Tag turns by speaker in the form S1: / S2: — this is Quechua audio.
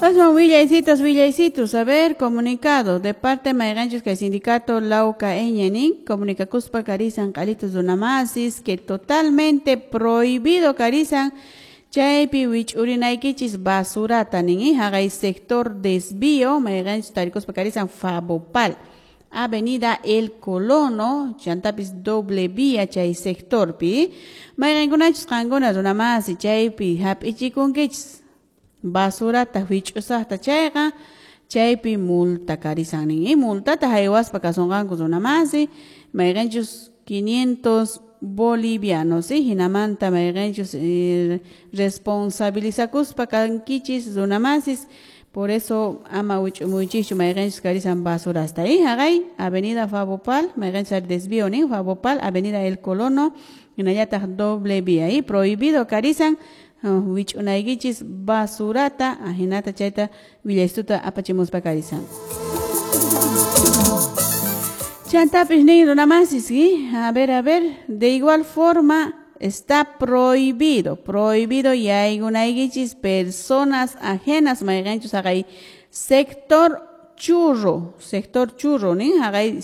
S1: Aswan willaycitos, willaycitos, a ver, comunicado de parte mayqanchus kay sindicato Lauca nin comunicakuspa karisan q'alitus runamasis que totalmente prohibido karisan chaypi wich'urinaykichis basurata nin haqay sector desvío mayqanchus tarikuspa karisan Fabopal, Avenida El Colono, chantapis doble vía chay sectorpi, mayqankunachus qankuna runamasi chaypi hap'ichikunkichis basurata wich'usaqta chayqa chaypi multa karisan nin multata haywaspa kasunqanku runamasi mayqanchus 500 bolivianos hinamanta mayqanchus responsabilizakuspa kankichis runamasis. Por eso ama wich'umuychischu mayqanchus karisan basurasta haqay Avenida Fabopal mayqanchus desvío nin Fabopal, Avenida El Colono hinallataq doble vía prohibido karisan wich'unaykichis basurata ahinata chayta willaystuta apachimuspa karisan. Chantapis nin runamasis, a ver, de igual forma está prohibido, prohibido yaykunaykichis personas ajenas mayqanchus haqay sector churro nin haqay.